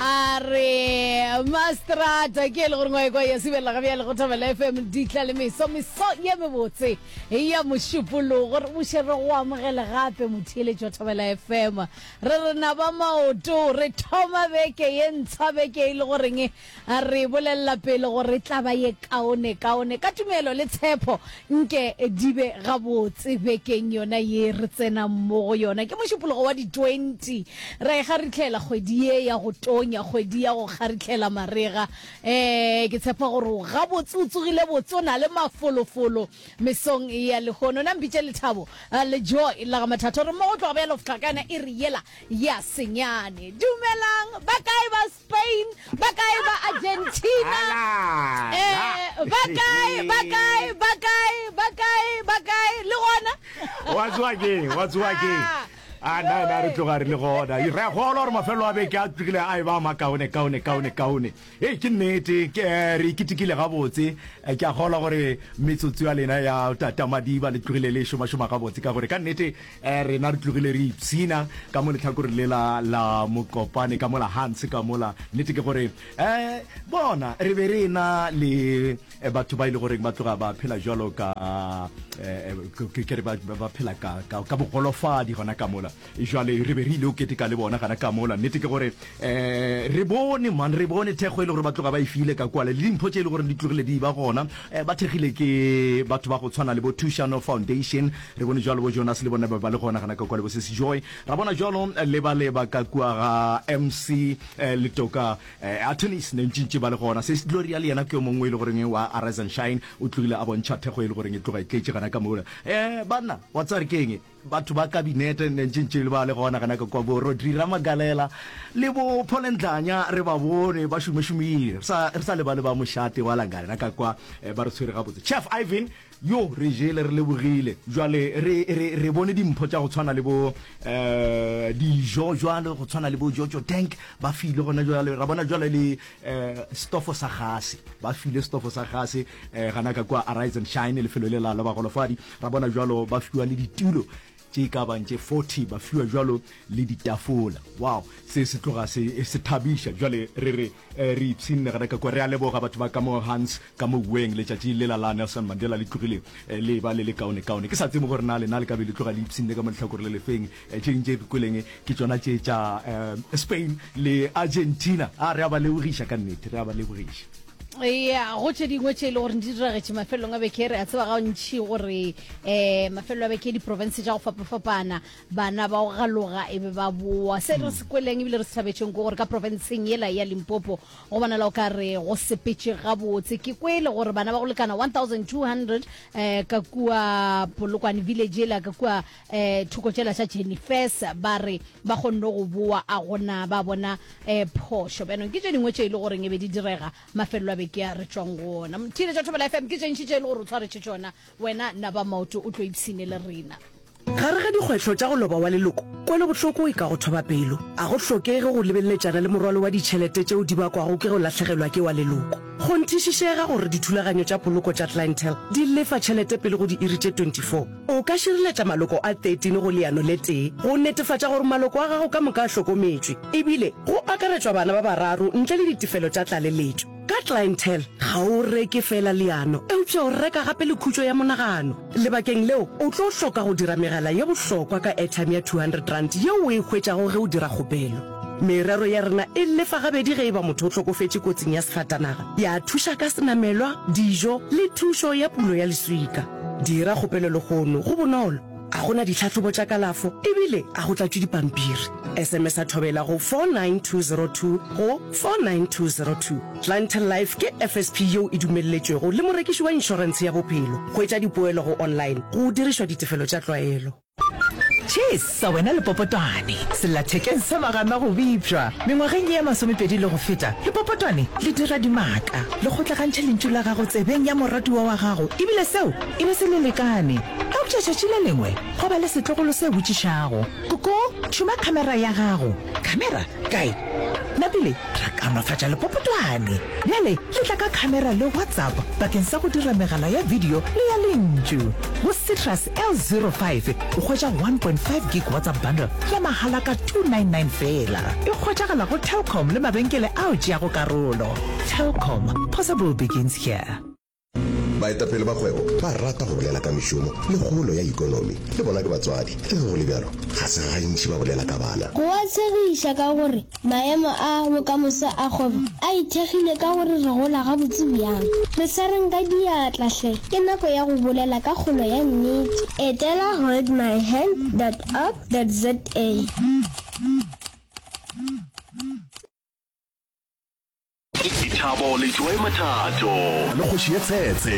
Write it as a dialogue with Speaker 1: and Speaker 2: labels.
Speaker 1: A re Mastrata ke e le gore ngwae kwa ya sibelela ga bjale go Thobela FM ditla le meso meso ye mebotse ya mošupologo re buše re go amogele gape motheeletši wa Thobela FM re re naba maoto re thoma beke ye ntshwa beke e le goreng Re bolelela pele gore e tla ba ye kaonekaone. Ka tumelo le tshepo, nke di be gabotse bekeng yona ye re tsenang mo go yona. Ke Mošupologo wa di 20. Ra e kgarihlela kgwedi ye ya go tonya, kgwedi ya go kgarihlela marega. Ee, ke tshepa gore o gabotse, o tsogile botse, o na le mafolofolo mesong ya lehono. Na mpitše Lethabo le Joy la ga Mathatho. Re mmogo tloga bjalo go fihla ka yona iri yela ya senyane. Dumelang, ba kae ba Spain, ba kae ba Argentina, eh, ba kae, ba kae, ba kae, ba kae, ba kae, le gona?
Speaker 2: Wa tsoga keng, wa tsoga keng? A na na re tloga re le gona. Re a kgolwa gore mafelo a beke a tlogile a e ba makaone kaone kaone kaone. Ee ke nnete, ke eh, re ikitikile gabotse. Eh, ke a kgolwa gore metsotso ya lena ya tata Madiba le tlogile le šomašoma gabotse ka gore ka nnete Eh, rena re tlogile re ipshina ka mo letlhakoreng le la la mokopane ka mola Hans ka mola. Nnete ke gore eh bona re be re na le eh, batho ba ile e goreng ba tloga ba phela jalo ka eh, ke ke re ba ba phela ka ka, ka bogolofadi gona ka mola. Jwale re be re ile o keteka le bona gana ka mola. Nnete ke gore eh re bone man re bone thekgo e le gore ba tloga ba e file ka kwale le dimpho tše e le gore di tlogile di ba gona. Eh, ba thekgile ke batho ba go tshwana le bo Thušano Foundation. Re bone jwalo bo Jonas le bona ba ba le gona gana ka kwa le bo Sesi Joy. Ra bona jwalo le ba le ba ka kua ga MC eh, Letoka eh, Attorneys ne ntšintši ba le gona. Sesi Gloria le yena ke yo mongwe e le goreng wa Arise and Shine o tlogile a bontšha thekgo e le goreng e tloga e tletše gana ka mola. Eh, banna wa tseba re keng? Batho ba kabinete ne ntšintši le ba le gona gana ka kwa bo Rodri Ramagalela le bo Paul Ndlanya re ba bone ba šomešomile. Re sa re sa lebale ba mošate wa Langana ka kwa eh, ba re tshwere gabotse. Chef Ivan Yo, re jele, re lebogile. Jwale re, re, re bone dimpho tša go tshwana le bo, eh, dijo jwale, go tshwana le bo Jojo Tank, ba file gona jwale. Ra bona jwale le, eh, stofo sa gase, ba file stofo sa gase, eh, gana ka kua Arise and Shine, lefelo le la la bagolofadi. Ra bona jwalo ba fiwa le ditulo tše e ka bang tše 40, ba fiwa jwalo le ditafola. Wow, se se tloga se, se thabiša. Jwale re re, eh, re ipshinne gana ka kua. Re a leboga batho ba ka mo Hans ka mo Weng. Letšatši lela la Nelson Mandela le tlogile eh, le eba le le kaonekaone. Ke sa tsebe gore na lena le ka be le tloga le ipshinne ka mo lehlakore le lefeng. Eh, tše ding tše re kweleng ke tšona tše tša eh, Spain le Argentina. A re a ba lebogiša ka nnete, re a ba lebogiša.
Speaker 1: Ya, go tše dingwe tše e le gore di diragetše mafelelong a beke, re a tseba gantši gore um mafelelo a beke diprofense tša go fapafapana bana ba go galoga e be ba boa. Se re se kweleng ebile re se thabetšeng ke gore ka profenseng yela ya Limpopo go bonala o ka re go sepetše gabotse. Ke kwele gore bana ba go lekana 1200 um ka kua Polokwane village yela ka kua um thoko tšela tša Jennifers ba re ba kgonne go boa a gona ba bona um phošo. Bjanong ke tše dingwe tše e le goreng e be di direga mafelelo a beke a re tšwang go ona. Theeletša Thobela FM ke tše ntši tše e le gore o tshwaretše tšona wena naba maoto o tlo ipshine le rena.
Speaker 3: Gare ga dikgwetlho tša go loba wa leloko, kwelobohloko e ka go thoba pelo. A go hlokege go lebeleletšana le morwalo wa ditšhelete tšeo di bakwago ke go lahlegelwa ke wa leloko. Kgonthišišega gore dithulaganyo tša poloko tša Clientele di lefa tšhelete pele go diiri tše 24. O ka šireletša maloko a 13 go leano le tee go netefatša gore maloko a gago ka moka a hlokometšwe, ebile go akaretšwa bana ba bararo ntle le ditefelo tša tlaleletšo. Ka Clientele, ga o reke feela leano, eupša o reka gape le khutšo ya monagano. Lebakeng leo, o tlo hloka go dira megala ye bohlokwa ka airtime ya R200 yeo o e hwetšago ge o dira kgopelo. Merero ya rena e lefa gabedi ge e ba motho o hlokofetše kotsing ya sefatanaga, ya thuša ka senamelwa, dijo le thušo ya pulo ya leswika. Dira kgopelo lehono, go bonolo, ga go na ditlhahlobo tša kalafo ebile ga go tlatšwe dipampiri. SMS-a Thobela go 49202 go 49202. Clientele Life ke FSP yeo e dumelletšwego le morekiši wa inšorentshe ya bophelo. Hwetša dipoelo go online go dirišwa ditefelo tša tlwaelo.
Speaker 4: Chesa wena lepopotwane, sellathekeng sa magana go bipšwa. Mengwageng ye ya masomepedi le go feta, lepopotwane le dira dimaka, le kgotlagantšha lentšu la gago tsebeng ya moratiwa wa gago ebile seo e be se le lekane. Eupša tšatši le lengwe gwa ba le setlogolo se botšišago, Koko, tšhuma khamera ya gago. Khamera? Kae? Napile ra kaonafatša lepopotwane. Bjale le tla ka khamera le WhatsApp bakeng sa go dira megala ya video le ya lentšu. Go Citrus L05 o hwetša 1.5 gig WhatsApp bundle ya mahala ka 299 feela. E hwetšagala go Telkom le mabenkele ao tšeago karolo. Telkom, possible begins here.
Speaker 5: Baetapele ba kgwebo ba rata go bolela ka mešomo le kgolo ya ekonomi. Le bona ke batswadi. Le ge go le bjalo, ga se gantši ba bolela ka bana.
Speaker 6: Go a tshegiša ka gore maemo a bokamoso a kgwebo a ithekgile ka gore re gola gabotse bjang. Re swareng ka diatla hle, ke nako ya go bolela ka kgolo ya nnete. Etela holdmyhand dot org dot za.
Speaker 7: Dithabo le Joy Mathato.
Speaker 5: Le kgoši ye tshetse.